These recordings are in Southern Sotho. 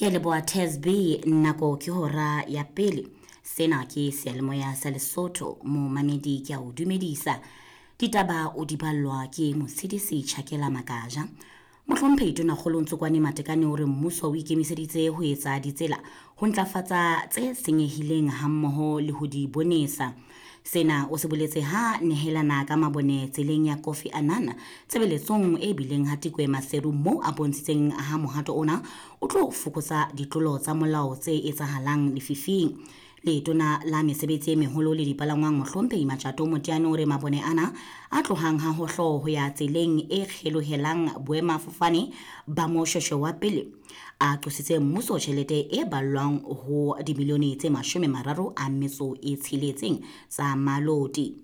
Ke a leboha Tasby, nako ke hora ya pele. Sena ke seyalemoya sa Lesotho, momamedi ke a o dumedisa. Ditaba o di ballwa ke Motshedisi Chakela Makaja. Mohlomphehi Tonakgolo Ntsokwane Matekane o re mmuso o ikemiseditse ho etsa ditsela ho ntlafatsa tse senyehileng hammoho le ho di bonesa. Sena o se boletse ha nehelana ka mabone tseleng ya Kofi Annan tshebeletsong e bileng ha Tikwe Maseru moo a bontshitseng ha mohato ona o tlo fokotsa ditlolo tsa molao tse etsahalang lefifing. Letona la mesebetsi e meholo le dipalangwang Mohlomphehi Matjato Moteane o re mabone ana a tlohang ha hohlo ho ya tseleng e kgelohelang boemafofane ba Moshoeshoe wa pele a qositse mmuso tjhelete e ballwang ho dimilione tse 36 tsa maloti.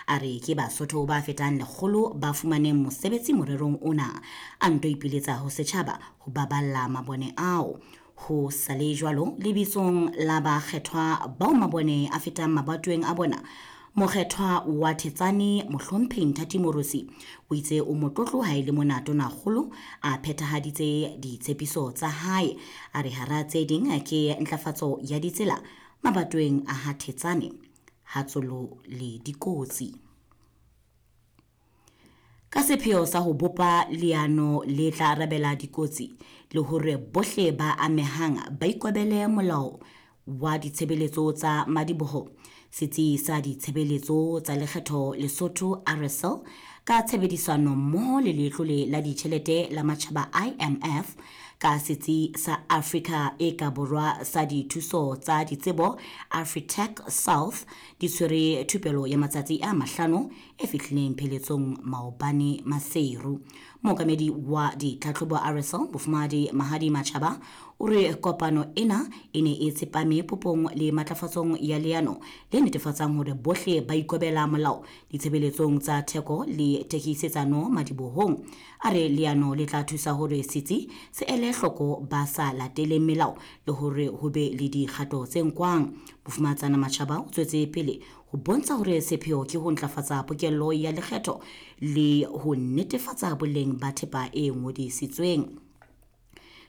A re ke Basotho ba fetang 100 ba fumaneng mosebetsi morerong ona, a nto ipiletsa ho setjhaba ho baballa mabone ao. Ho sale jwalo lebitsong la bakgethwa bao mabone a fetang mabatoweng a bona, mokgethwa wa Thetsane Mohlomphehi Nthati Morosi o itse o motlotlo ha e le mona Tonakgolo a phethahaditse ditshepiso tsa hae. A re hara tse ding ke ntlafatso ya ditsela mabatoweng a ha Thetsane, ha Tsolo le Dikotsi. Ka sepheo sa ho bopa leano le tla arabela dikotsi le hore bohle ba amehang ba ikobele molao wa ditshebeletso tsa madiboho, setsi sa ditshebeletso tsa lekgetho Lesotho RSL ka tshebedisano mmoho le letlole la ditjhelete la matjhaba IMF ka setsi sa Afrika e ka borwa sa dithuso tsa ditsebo Afritech South di tshwere thupelo ya matsatsi a 5 e fihlileng pheletsong maobane Maseru. Mookamedi wa ditlhatlhobo RSL Bofumahadi Mahadi Machaba o re kopano ena e ne e tsepame popong le matlafatsong ya leano le netefatsang hore bohle ba ikobela molao ditshebeletsong tsa theko le thekisetsano madibohong. A re leano le tla thusa hore setsi se ele hloko ba sa lateleng melao le hore ho be le dikgato tse nkwang. Bofumahatsana Machaba o tswetse pele ho bontsha hore sepheo ke ho ntlafatsa pokello ya lekgetho le ho netefatsa boleng ba thepa e ngodisitsweng.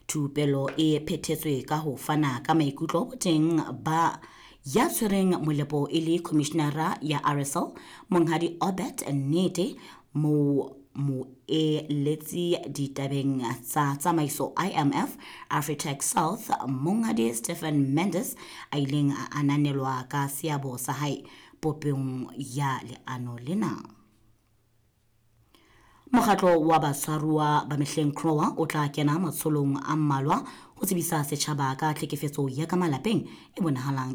Thupelo e phethetswe ka ho fana ka maikutlo boteng ba ya tshwereng molepo e le commissionera ya RSL Monghadi Obert Nnete, mo moeletsi ditabeng tsa tsamaiso IMF Afritech South Monghadi Stephen Mendes a ileng a ananelwa ka seabo sa hae popong ya leano lena. Mokgatlo wa batshwaruwa ba mehleng CROA o tla kena matsholong a mmalwa ho tsebisa setjhaba ka tlhekefetso ya ka malapeng e bonahalang